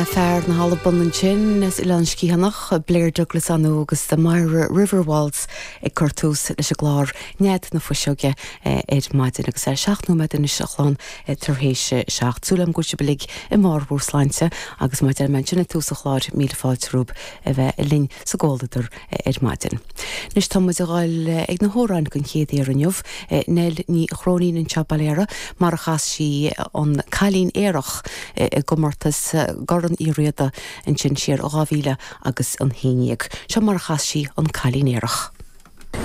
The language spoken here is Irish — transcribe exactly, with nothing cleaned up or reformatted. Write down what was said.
Fear na hAlban ansin as Oileán Sgiathanach, Blair Douglas anú agus the Myra River Waltz ag cur tús leis an gclár Nead na Fuiseoige ar maidin agus é seacht nóiméad anois a chlán tar éis seacht. Súil agam go bhfuil sibh uilig i mbarr bhur sláinte agus mar a deir mé ansin ag tús an chláir míle fáilte romhaibh a bheith linn sa gcomhluadar ar maidin. Anois tá muid ag dul ag na hamhráin den chéad uair inniu, Nell Ní Chróinín anseo Baile Heara mar a chas sí an Cailín Aerach i gcomórtas Chorn Uí Riada ansin siar dhá mhíle agus a haon déag. Seo mar a chas sí an Cailín Aerach.